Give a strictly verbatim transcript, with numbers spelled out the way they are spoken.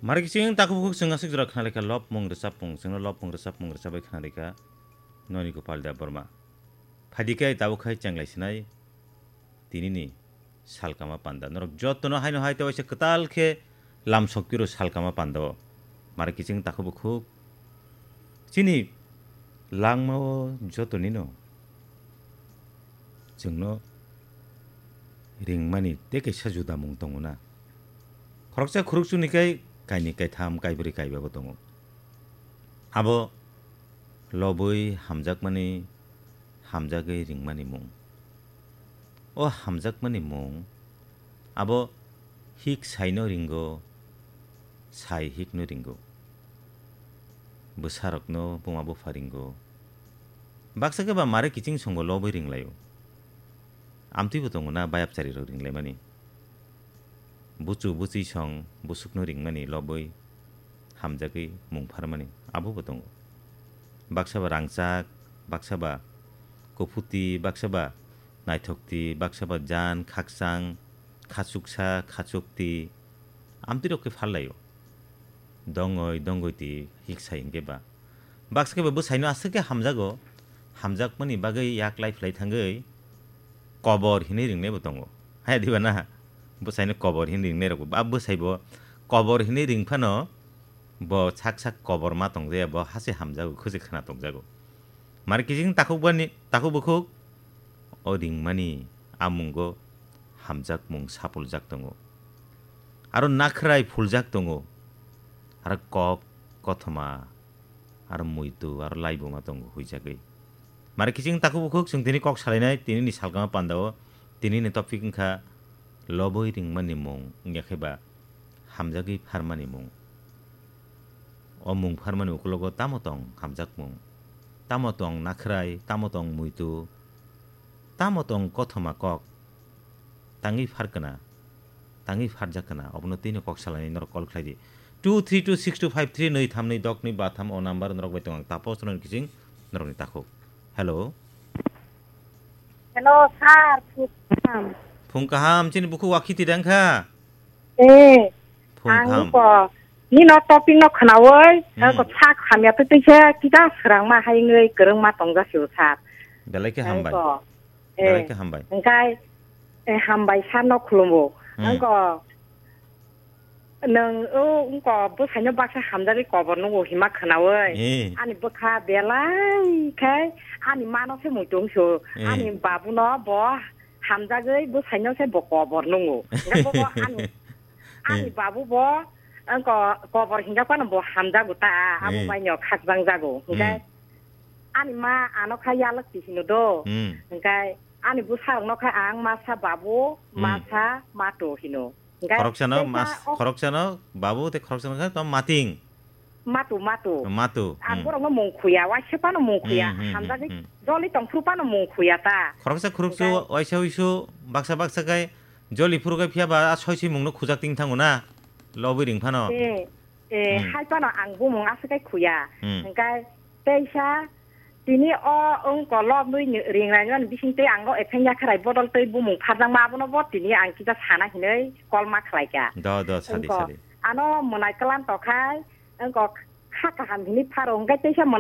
Mari kiching takhuk bukhuk chwng aswk jora khna rikha lobmung rwchapmung, chwngno lobmung rwchapmung rwchabai khna rikha Noni Gopal Debbarma. Phadi khe tabuk khai chenglai sinai tinini salkama panda. Norok jotono haino hai tei waisa kwtal khe lam sokpiro salkama panda o. Mari kiching takhuk bukhuk chini langma o jotonino chwngno ringmani tei kaisa judamung tongo na. Khoroksa khurukchuni kai kainwi kaitham kaibrwi kaiba bo tongo. Abo lobwi hamjakmani, hamjagwi ringmani mung. O hamjakmani mung abo hik saino ringo, sai hikno ringo. Bwsarokno buma bupha ringo. Baksa khe ba mare kiching songo lobwi ringlaio. Amtwibo tongo na bayapcharirok ringlaimani. Buchu buchwi song busukno ringmani lobwi hamjagwi mung pharmani abobo tongo. Baksa ba rangchak, baksa ba kuphuti, baksa ba naithokti, baksa ba jan, khakchang, khachuksa, khachukti, amtwirok khe pharlaio. Dongoi, dongoi ti hiksa hinkhe ba. Baksa khe ba bwsaino aswk khe hamjago, hamjakmani bagwi yak lai phlai thangwi kobor hinwi ringnaibo tongo. Haya diba na? Bwsaino kobor hinwi ringnairokbo. Ba bwsaibo kobor hinwi ring phano bo sak sak kobor ma tongjaya, bo hase hamjago, khwse khwna tongjago. Mari kiching takhuk bani, takhuk bukhuk, o ringmani a mungo hamjakmung sapuljak tongo. Aro nakhrai phuljak tongo. Aro kok, kothoma, aro muitu, aro laibuma tongo huijagwi. Mari kiching takhuk bukhuk chwng tini kok salainai, tinini salkama pandao, tinini topic wngkha lobwi ringmani mung, wngya khe ba hamjagwi pharmani mung. O mung pharmani ukulogo tamo tong hamjakmung, tamo tong nakhrai, tamo tong muitu, tamo tong kothoma kok, tangwi pharkna, tangwi pharjakna, obono twino kok salainai norok call khlai di. Two three two six two five three nwi tham nwi dok nwi ba tham o number norok bai tong ang tapos norok kiching norokni takhuk. Hello. Hello, sir. Phung kaham. Phung kaham, chini bukhuk wakhiti dang kha? Eh, phung kaham. Ang ko, nino topic no khnawi, hmm, ang ko sak hamya twi twi khe kita srang ma hai ngwi kwrwng ma tong ja sio, sir. Belai khe hambai. Ang ko, eh, belai khe hambai. Engkai, eh, hambai sir no khulumo. Hmm. Ang ko, Nwng o wngko bwsaino baksa hamjagwi kobor nungo hima khwnawi. Eh. Ani bwkha belai khe ani mano se muitu wngsu. Eh. Ani babuno bo hamjagwi bwsaino se bo kobor nungo. Hingkhe bo ani, ani eh, babu bo wngko kobor hingkha phano bo hamjago ta, abo eh, baino khakjang jago. Hingkhe hmm, ani ma ano kha yalwk ti hino do. Hmm. Hingkhe ani bwsarokno kha ang masa babu, hmm, masa mato hino. Hingkhe khoroksano teisa mas-, o khoroksano babu tei khoroksano khe tamo mating. Matu, matu. Matu, ang hmm, borokno mung khuya, waisa phano mung khuya, hmm, hmm, hmm, hamjagwi hmm, joli tongphuru phano mung khuya ta. Khoroksa khoroksa hingkhe waisa wisu baksa baksa khe joli phuru khe phiya ba a soi sui mungno khujak ting thango na. Lobwi ring phano. Eh, eh, hmm, hai phano ang bumung aswk khe khuya. Hmm. Hingkhe teisa Tini o wng kolok nwi ni ring rainani bising tei ang o epheng yakharai bodol tei bumung pharjakma abono bo tini ang kisa sana hinwi call ma khlaikha. Do, do, sadi, wngkha sadi. Ano mwnai klan tokhai, wngkha kha kaham hinwi pharo, hwnkhe teisa